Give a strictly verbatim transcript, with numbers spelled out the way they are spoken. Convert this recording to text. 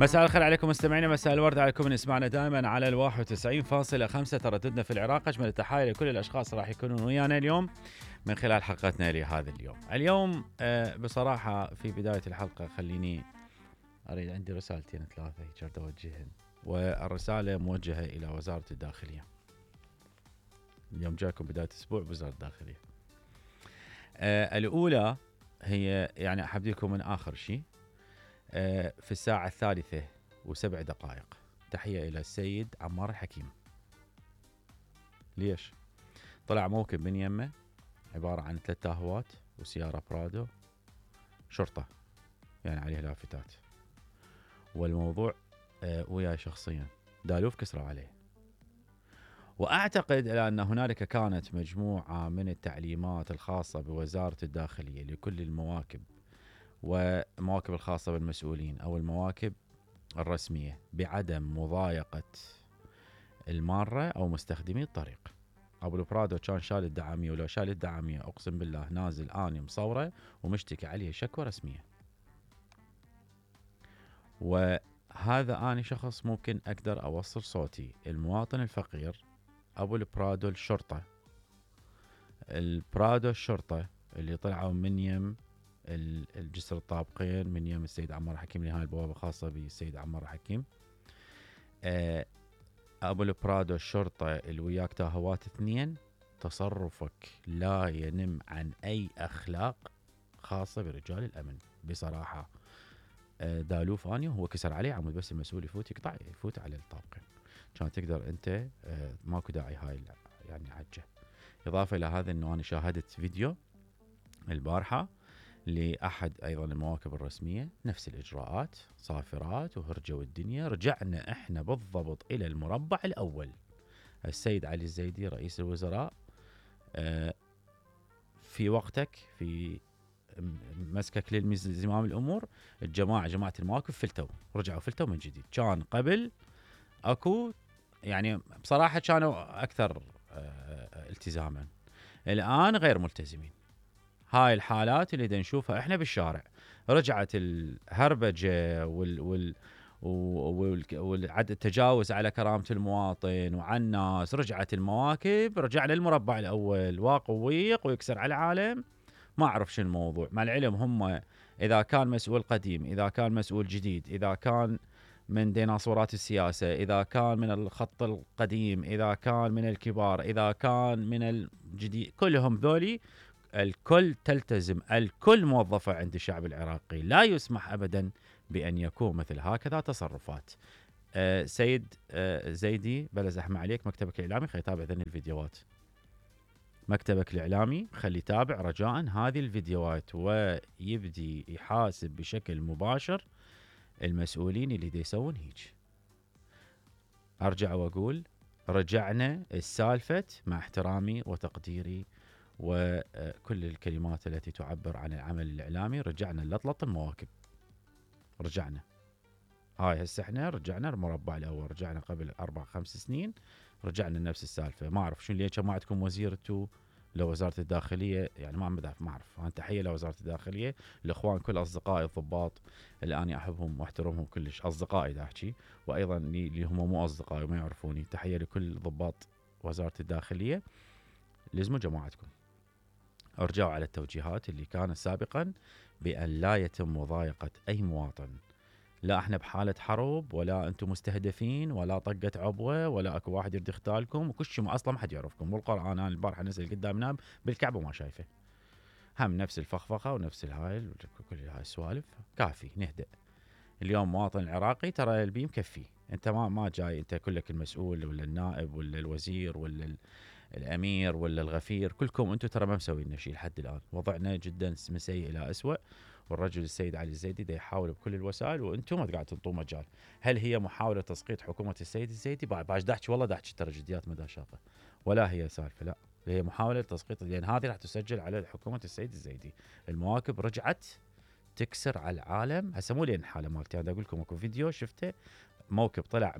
مساء الخير عليكم مستمعينا، مساء الورد عليكم من اسمعنا دائما على الواحد وتسعين فاصلة خمسة ترددنا في العراق. اجمل التحايا لكل الاشخاص راح يكونون ويانا اليوم من خلال حلقتنا لهذا اليوم. اليوم آه بصراحه في بدايه الحلقه خليني اريد عندي رسالتين ثلاثه هيك اوجههن، والرساله موجهه الى وزاره الداخليه. اليوم جاكم بدايه اسبوع بوزاره الداخليه. آه الاولى هي يعني احبديكم من اخر شيء. آه في الساعه الثالثه وسبع دقائق تحيه الى السيد عمار الحكيم. ليش؟ طلع موكب من يمه عباره عن ثلاث تاهوات وسياره برادو شرطه يعني عليه لافتات، والموضوع آه وياي شخصيا دالوف كسروا عليه. واعتقد ان هنالك كانت مجموعه من التعليمات الخاصه بوزاره الداخليه لكل المواكب ومواكب الخاصه بالمسؤولين او المواكب الرسميه بعدم مضايقه الماره او مستخدمي الطريق. ابو البرادو كان شال الدعاميه، ولو شال الدعاميه اقسم بالله نازل اني مصوره ومشتكي عليه شكوى رسميه. وهذا اني شخص ممكن اقدر اوصل صوتي. المواطن الفقير ابو البرادو الشرطه، البرادو الشرطه اللي طلعوا من يم الجسر الطابقين من يم السيد عمار الحكيم، لهاي البوابه خاصه بالسيد عمار الحكيم. ابو البرادو الشرطه اللي وياك تاهوات اثنين، تصرفك لا ينم عن اي اخلاق خاصه برجال الامن بصراحه. دالوف اني وهو كسر عليه عمود بس المسؤول يفوت يقطع يفوت على الطابقين، كان تقدر انت ماكو داعي هاي يعني عجه. اضافه الى هذا انه انا شاهدت فيديو البارحه لاحد ايضا المواكب الرسميه، نفس الاجراءات صافرات وهرجوا الدنيا. رجعنا احنا بالضبط الى المربع الاول. السيد علي الزيدي رئيس الوزراء في وقتك في مسكك للزمام الامور، الجماعه جماعه المواقف فلتوا رجعوا فلتوا من جديد. كان قبل اكو يعني بصراحه كانوا اكثر التزاما، الان غير ملتزمين. هاي الحالات اللي دا نشوفها احنا بالشارع، رجعت الهربجه وال وال والعدد التجاوز على كرامه المواطن وعن الناس. رجعت المواكب، رجعنا المربع الاول واقويق ويكسر على العالم. ما اعرف شو الموضوع. مع العلم هم اذا كان مسؤول قديم، اذا كان مسؤول جديد، اذا كان من ديناصورات السياسه، اذا كان من الخط القديم، اذا كان من الكبار، اذا كان من الجديد، كلهم ذولي الكل تلتزم، الكل موظفه عند الشعب العراقي. لا يسمح ابدا بان يكون مثل هكذا تصرفات. أه سيد أه زيدي بلا زحمه عليك، مكتبك الاعلامي خلي يتابع ذني الفيديوهات. مكتبك الاعلامي خلي يتابع رجاء هذه الفيديوهات ويبدي يحاسب بشكل مباشر المسؤولين اللي دي يسوون هيك. ارجع واقول رجعنا السالفه مع احترامي وتقديري وكل الكلمات التي تعبر عن العمل الإعلامي. رجعنا لطلط المواكب، رجعنا هاي هسه احنا رجعنا المربع الأول، رجعنا قبل أربع خمس سنين، رجعنا نفس السالفة. ما أعرف شو ليش ما عندكم وزيرتو لوزارة الداخلية، يعني ما عم ما أعرف. أنا تحية لوزارة الداخلية، الإخوان كل أصدقائي الضباط اللي أنا أحبهم وأحترمهم كلش، أصدقائي دا أحكي، وأيضا اللي هم مو أصدقائي وما يعرفوني. تحية لكل ضباط وزارة الداخلية، لزموا جماعتكم. ارجعوا على التوجيهات اللي كانت سابقا بأن لا يتم مضايقة أي مواطن. لا احنا بحالة حرب، ولا انتم مستهدفين، ولا طقة عبوة، ولا اكو واحد يريد يختالكم، وكل شيء اصلا ما حد يعرفكم. والقرآن انا البارحة نزل قدامنا بالكعبة ما شايفه، هم نفس الفخفخة ونفس الهاي كل هاي السوالف. كافي نهدأ. اليوم مواطن العراقي ترى البي مكفي. انت ما ما جاي انت كلك المسؤول ولا النائب ولا الوزير ولا الامير ولا الغفير، كلكم انتم ترى ما مسوين لنا شيء لحد الان. وضعنا جدا من سيء الى اسوء، والرجل السيد علي الزيدي دا يحاول بكل الوسائل وانتم ما قاعد تنطوا مجال. هل هي محاوله تسقيط حكومه السيد الزيدي؟ باش دحكي والله دحكي ترى جديات مدى شاطه، ولا هي سالفه، لا هي محاوله تسقيط، لان هذه راح تسجل على حكومه السيد الزيدي. المواكب رجعت تكسر على العالم. هسه مو لين الحاله مالتي، انا اقول لكم اكو فيديو شفته، موكب طلع من